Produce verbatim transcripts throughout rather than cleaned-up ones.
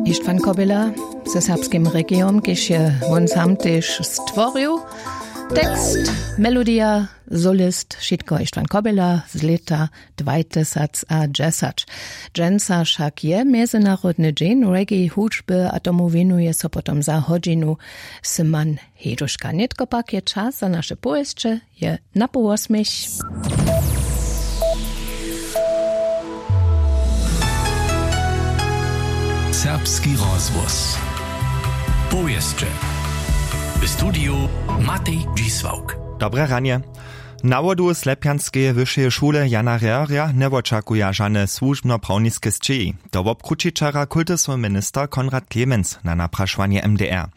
Ištvan Kobila ze serbskim regijom, kiž je wón sam tež stworił. Tekst, melodija, solist, wšitko Ištvan Kobila z lěta dwajtysacadźesać. Dźensa wšak je mjezynarodny dźeń reggae hudźby a tomu wěnuje so potom za hodźinu Simon Heduška. Nětko pak je čas za naše powěsće, je na połosměch. Serbski rozhłos. Powěsće. W studiju Matej Dźisławk. Dobre ranje. Na wodu Slepjanskeje wyšeje šule Jana Rehrja njewočakuja žane słužbnoprawniske sćěhi. To wobkrući wčera kultusowy minister Konrad Clemens na naprašowanje M D R.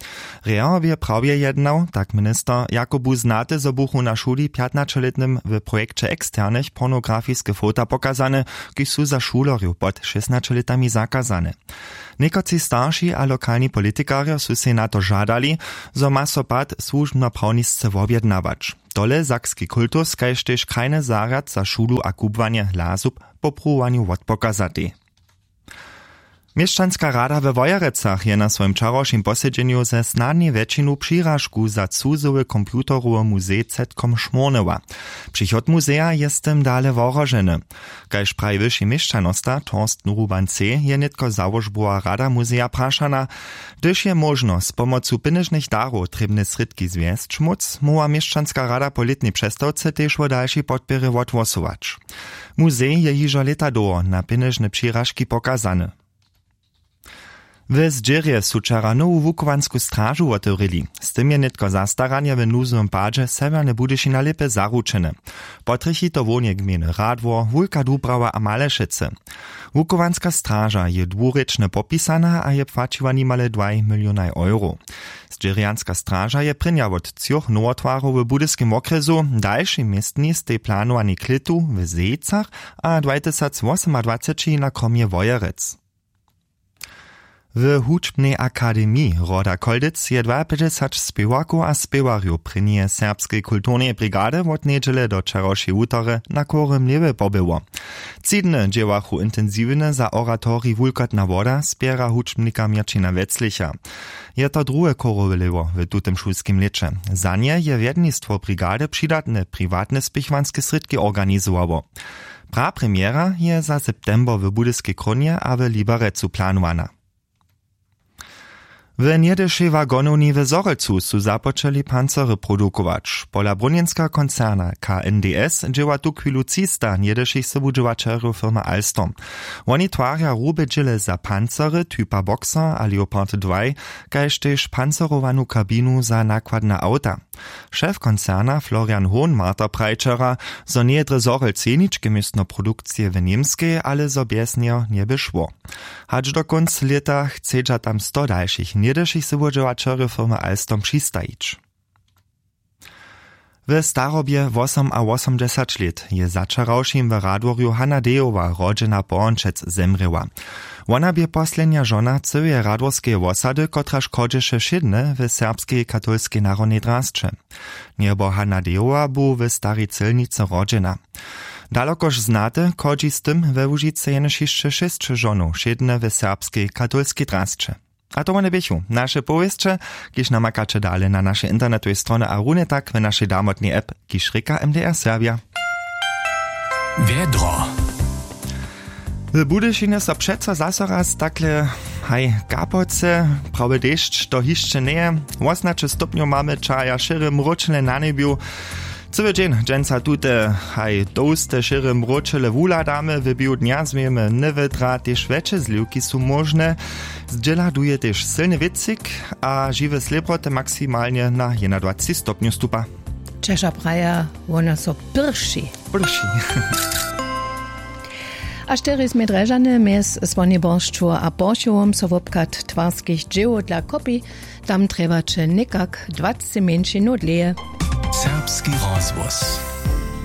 Rehr bě prawje jednał, tak minister, jako bu znate, zo buchu na šuli pjatnaćelětnym w projekće eksternych pornografiske fota pokazane, kiž su za šulerjow pod šěsnaće lětami zakazane. Někotři starši a lokalni politikarjo su sej na to žadali, zo ma so pad słužbnoprawnisce wobjednawać. Tole sakski kultus kaž tež krajny zarjad za šulu a kubłanje lasub po pruwowanju wotpokazatej. Měšćanska rada we Wojerecach je na swojim wčerawšim posedźenju ze snadnej wjetšinu přiražku za cuzowy computerowy muzej zetkom šmórnyła. Přichod muzeja je z tym dale wohroženy. Kaž praji wyši měšćanosta Torsten Ruban C., je nětko załožbowa rada muzeja prašana, hdyž je móžno z pomocu pěnježnych darow trěbne srědki zwjesć móc, móhła měšćanska rada po lětnej přestawce tež wo dalšej podpěrje wothłosować. Muzej je hižo lěta dołho na pěnježne přiražki pokazany. W Zdźěrje su wčera nowu wuchowansku stražu wotewrěli. Z tym je nětko zastaranje w nuzowym padźe Sewjerne Budyšina lěpje zaručene. Potrjechi to hłowneje gmejny Radwor, Wulka Dubrawa a Malešecy. Wuchowanska straža je dwurěčnje popisana a je płaćiła nimale dwaj milionaj euro. Zdźěrjanska straža je prěnja wot třoch nowotwarow w budyskim wokrjesu, dalšej městni stej planowanej klětu w Zejcach a dwajtysacwosomadwaceći na kromje Wojerec. W hudźbnej akademiji Roda Kolditz je dwaapjećdźesać spěwarkow a spěwarjow prěnjeje serbskeje kulturneje brigady wot njedźele do wčerawšej wutory na chórym lěwy pobyło. Tři dny dźěłachu intensiwnje za oratorij Wulkotna woda spěra hudźbnika Měrćina Weclicha. Je to druhe chórowe lěwo w tutym šulskim lěće. Za nje je wjednistwo brigady přidatne priwatne spěchowanske srědki organizowało. Prapremjera je za september w Budyskej Krónje a w Liberecu planowana. W njedyšej wagonowni w Zhorjelcu su započeli pancery produkować. Pola brunjenskeho koncerna K N D S dźěła tuchwilu třista njedyšich sobudźěłaćerjow firmy Alstom. Woni twarja hrube dźěle za pancery typa Boxer a Leopard dwaj, kaž tež pancerowanu kabinu za nakładne awta. Šef koncerna Florian Hohnmarter praji wčera, zo njeje drje Zhorjelc jeničke městno produkcije w Němskej, ale zo bjez njeho njeby šło. Hač do kónc lěta chcedźa tam sto dalšich njedyšich sobudźěłaćerjow firmy Alstom přistajić. W starobje wosom a wosomdźesać lět je za wčerawšim w Radworju Hanna Dejowa, rodźena Połončec, zemrěła. Wona bě poslednja žona cyłeje radworskeje wosady, kotraž chodźeše wšědnje w serbskej katolskej narodnej drasće. Njebo Hanna Dejowa bu w Starej Cylnicy rodźena. Dalokož znate, chodźi z tym we Łužicy jenož hišće šěsć žonow wšědnje w serbskej katolskej drasće. A to wone běchu naše powěsće, kiž namakaće dale na našej internetowej stronje a runje tak w našej damotnej app, kiž rěka M D R Serbja. Wjedro. W Budyšinje so přeco zaso raz takle, haj, kapoce, prawy dešć to hišće njeje. Wosomnaće stopnjow mamy, čahaja šěre mróčele na njebju. Cyły dźeń dźensa tute, haj, tołste šěre mróčele wuhladamy. W běhu dnja změjemy newětra, tež wjetše zliwki su móžne. Zdźěla duje tež sylny wětřik a žiwe slěpoty maksimalnje na jednadwaceći stopnjow stupa. Čeža praja, wona so pyrši. Pyrši. A štyri smy Drježany mjez Słoniborsću a Poršowom so wobchad twarskich dźěłow dla kopi. Tam trjebaće někak dwacci mjeńšinow dlěje. Serbski rozhłos.